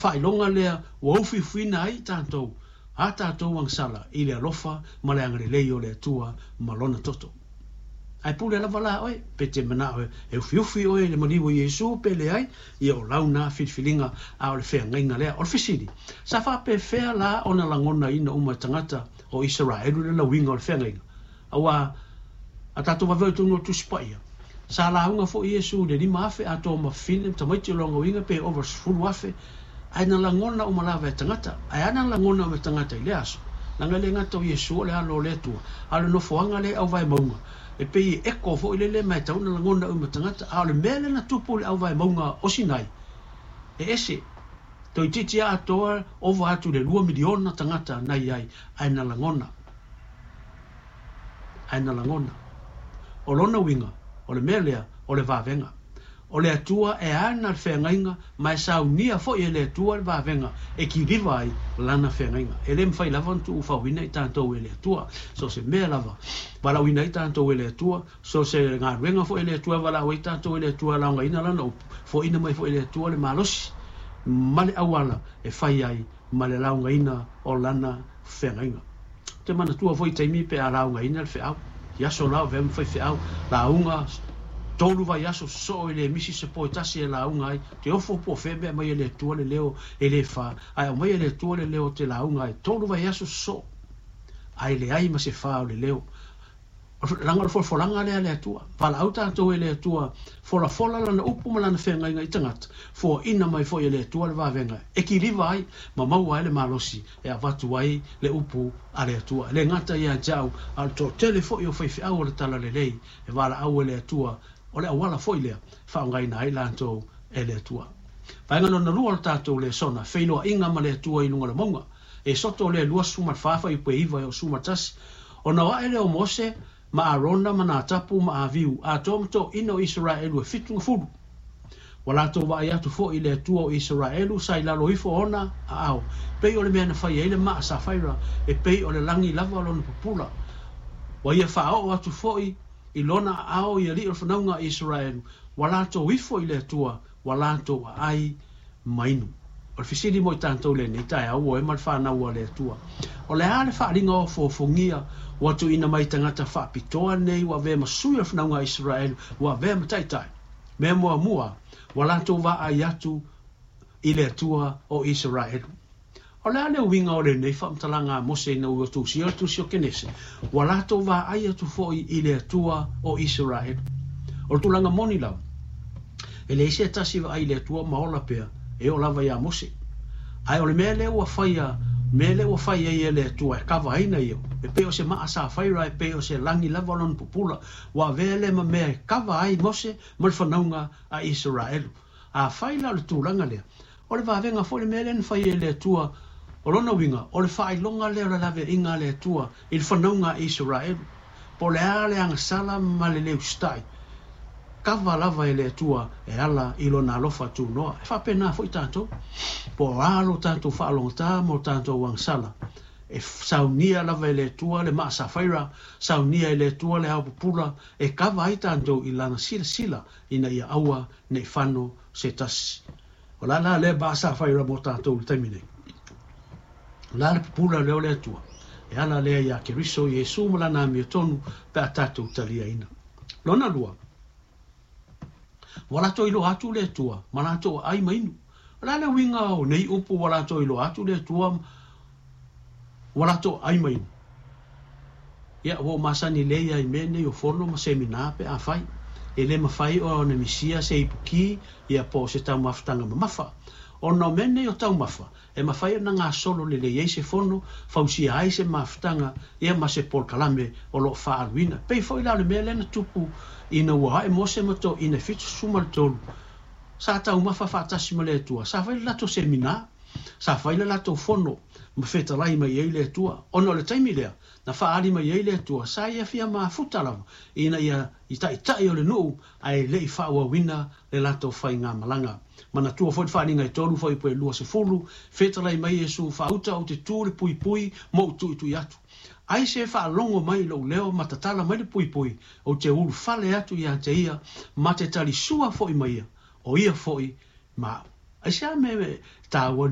Faailoga lea ua ufiufiina ai tatou, a tatou agasala i le alofa ma le agalelei o le Atua ma Lona toto. Ae pule lava la oe, pe te manao e ufiufi oe i le maliu o Iesu pe leai, ia o lau na filifiliga, a o le feagaiga lea. O le fesili, sa faapefea la ona lagonaina uma e tagata o Isaraelu le lauiga o le feagaiga? Aua a tatou vaveo i totonu o le Tusi Paia, sa lauga foi Iesu i le 5,000 atoa ma fafine ma tamaiti o lona uiga pe ova 10,000, ae na lagona uma lava e tagata. Ae a na lagona uma e tagata i lea aso? Leaga e le gata o Iesu o le Alo o le Atua, a o le nofoaga lea e auvae mauga, e pei e echo foi lele ma e tatau ona lagona uma e tagata. A o le mea lea na tupu i le auvae mauga o Sinai, e ese. Toeitiiti atoa ova atu i le 2 miliona tagata na i ai, ae na lagona. Ae na lagona. O lona uiga, o le mea lea, o le vavega. O le Atua e ana le feagaiga ma e saunia foi e le Atua le vavega e kiliva ai lana feagaiga. E le mafai lava ona tuufauina i tatou e le Atua. So se mea lava, valaauina ai tatou e le Atua, so se galuega foi e le Atua e valaau ai tatou e le Atua e laogaina lana upu, foaina mai foi e le Atua le malosi ma le auala e fai ai ma le laogaina o lana feagaiga. Te manatua foi taimi pe a laugaina le feau. I aso la o vea ma faifeau, lauga, 3 vaiaso sosoo i le misi se po e tasi e lauga ai, te ofo po o fea mea mai e le Atua le leo e le fa, ae aumai e le Atua le leo te lauga ai, 3 vaiaso sosoo, ae leai ma se fa o le leo. Leaga o le folafolaga lea a le Atua. Valaau tatou e le Atua, folafola lana upu ma lana feagaiga i tagata, foaina mai foi e le Atua le vavega e kiliva ai ma maua ai le malosi e avatu ai le upu a le Atua. E le gata ia te au, a o le toatele foi o faifeau o le Talalelei e valaau e le Atua, o le auala foi lea faaaogaina ai latou e le Atua. Vaega lona lua o le tatou lesona, feiloaiga ma le Atua i luga o le mauga. Esoto lea 24 fuaiupu e 9 e oo 11. Ona o ae lea o Mose ma Arona ma Natapu ma Aviu, atoa ma toeaiina o Isaraelu e 70. Ua latou vaai atu foi i le Atua o Isaraelu sa i lalo ifo ona aao, pei o le mea na fai ai le maa safaira, e pei o le lagi lava lona pupula. Ua ia faaoo atu foi i lona aao i alii o le fanauga a Isaraelu, ua latou ifo i le Atua, ua latou aai ma inu. O le fesili mo i tatou lenei taeao ua e ma le fanau a le Atua. O le a le faaaliga ofoofogia ua tuuina mai tagata faapitoa nei ua avea ma sui o le fanauga a Isaraelu, ua avea ma taitai. Mea muamua, ua latou vaai atu i le Atua o Isaraelu. O le a le uiga o lenei faamatalaga a Mose ina ua tusia le tusi o Kenese, ua latou vaai atu foi i le Atua o Isaraelu. O le tulaga moni lava, e leai se tasi vaai i le Atua ma ola pea, e oo lava ia Mose. Ae o le mea lea ua faia, mea lea ua fai ai e le Atua e kavaina ia, e pei o se maa safaira, e pei o se lagi lava lona pupula, ua avea lea ma mea e kava ai Mose ma le fanauga a Isaraelu. A fai la o le tulaga lea, o le vavega foi le mea lea na fai e le Atua, o lona uiga, o le faailoga lea o le laveaiga a le Atua i le fanauga a Isaraelu. Po o le a le agasala ma le le usitai, kava lava e le Atua e ala i lona alofa tunoa. E faapena foi tatou. Po o a lo tatou faalogata ma o tatou agasala, e saunia lava e le Atua le maa safaira, saunia e le Atua le ao pupula, e kava ai tatou i lana silasila ina ia aua nei fano se tasi. O la la lea maa safaira mo tatou i le taimi nei. O la le pupula lea o le Atua. E ala lea ia Keriso Iesu ma lana amiotonu pe a tatou taliaina. Lona lua, ua latou iloa atu le Atua ma latou aai ma inu. O le a le uiga o nei upu ua latou iloa atu le Atua ua latou aai ma inu? Ia, ua ou masani lelei lava i mea nei o fono ma semina pe afai. E le mafai ona misia se ipuki ia po o se taumafataga mamafa. Ona o mea nei o taumafa, e mafai ona gasolo lelei ai se fono, fausia ai se mafutaga ia ma se polokalame o lo o faaaluina. Pei foi la o le mea lea na tupu ina ua ae Mose ma toeaiina e 73, sa taumafa faatasi ma le Atua, sa fai le latou semina, sa fai le latou fono ma fetalai mai ai le Atua. Ona o le taimi lea na faaali mai ai le Atua, sa ia fia mafuta lava ina ia i taitai o le nuu ae le i faaauauina le latou faigamalaga. Manatua foi le faaaliga e 3 fuaiupu e 20, fetalai mai Iesu, faauta ou te tu i le puipui ma ou tuitui atu. Ai se faalogo mai i lou leo ma tatala mai le puipui, ou te ulufale atu ia te ia, ma te talisua foi ma ia, o ia foi ma au. Aisea mea e taua?